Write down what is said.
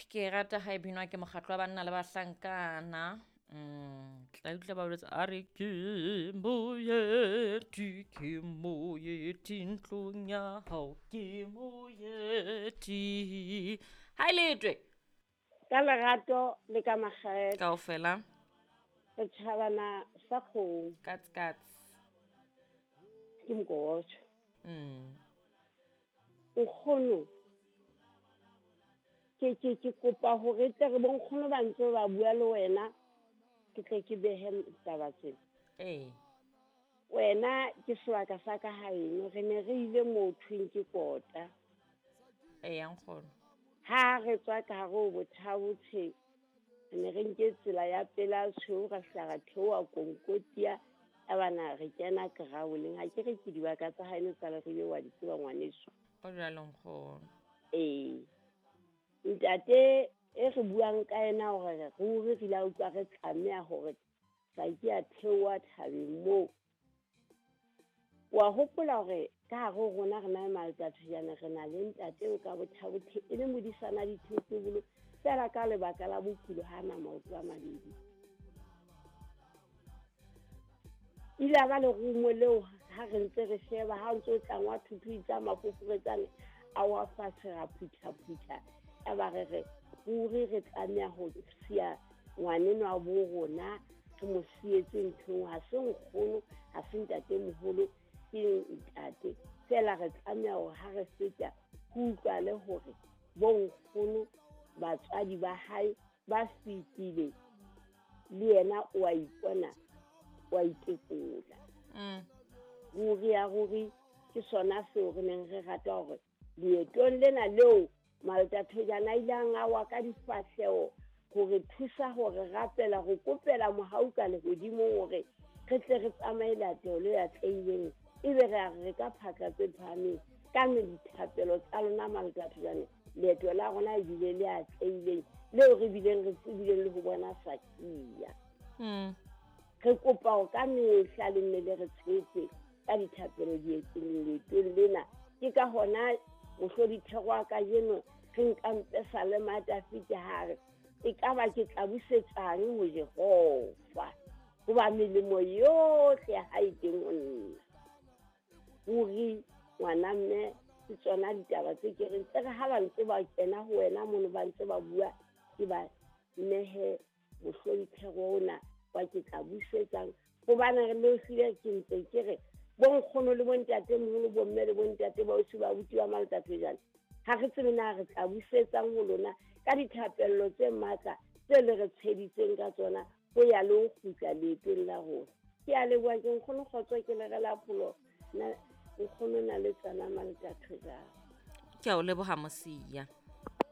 Ke rata ha e binwa ke mokgatlo wa banna le bahlankana. Tla utlwa ba boletse a re ke moeti, ke moeti ntlong ya hao, ke moeti. Ha e letwe. Ka lerato le ka makgethe. Kaofela. Setjhabana sa kgomo. Kats kats. Ke mokotjo. Nkgono. Ke kopa hore tle re bonkgono ba ntse ba bua le wena, ke tle ke behe taba tsena. Ee. Wena ke sebaka sa ka haeno, re ne re ile moo thweng ke kota. Ee, nkgono. Ha re tswa ka hare ho Bothabotshe, re ne re nke tsela ya pela tshweu, ra fihla ra theoha Konkotia, ya bana re kena Kraoleng. Ha ke re ke dibaka tsa haeno tsa Leribe wa di tseba ngwaneso. Ho jwalo nkgono. Ee. Ntate e re buang ka yena hore ruri re la utlwa re tlameha hore sa ke a theoha thabeng moo. Wa hopola hore ka hare ho rona re na le Maltathojane, re na le ntate eo ka Bothabothe e le modisana dithotobolo fela ka lebaka la bokulo ha na maoto a mabedi. Ile a ba lerumo leo ha re ntse re sheba ha o ntse o tlangwa thuthu tsa mafoforetsane a wa fatshe ra phutha-phutha. Ya ba re re ruri re tlameha ho siya ngwanenwa wa bo rona, re mo sietse nthong, ha se nkgono, ha se ntatemoholo, ke ntate. Fela re tlameha hore ha re feta ho utlwale hore bonkgono batswadi ba hae ba fetile, le yena o a ipona, o a itekola. Ruri ya ruri ke sona seo re neng re rata hore leetong lena leo Maltathojane a ileng a wa ka difahleho hore thusa hore rapela, ho kopela mohau ka lehodimong hore re tle re tsamaye leeto le atlehileng, ebe re a re ka phatla tse phahameng ka dithapelo tsa lona Maltathojane. Leeto la rona ebile le atlehileng leo re bileng re tsebileng le ho bona Sakia. Re kopa hore ka mehla le nne le re tshehetse ka dithapelo leetong lena. Ke ka hona mohlodithero wa kajeno re nkang Pesalema ya Dafida ha re e ka ba ke tla busetsang ho Jehova, hoba melemo yohle ya hae teng ho nna. Ruri ngwana mme ke tsona ditaba tse ke reng tse re ha ba ntse ba kena ho wena mono ba ntse ba bua, ke ba nehe mohlodithero ona wa ke tla busetsang, hobane re le hlile ke ntse ke re bonkgono le bontatemoholo, bomme le bontate ba osi ba abuti ba Maltathojane, ha re tsebe na re tla busetsang ho lona ka dithapello tse matla tse le re tsheditseng ka tsona ho ya le ho kgutla leetong la rona. Ke a leboha, ke nkgono kgotso, ke le rela pholo na nkgono na le tsona Maltathojane. Ke a o leboha Mosia.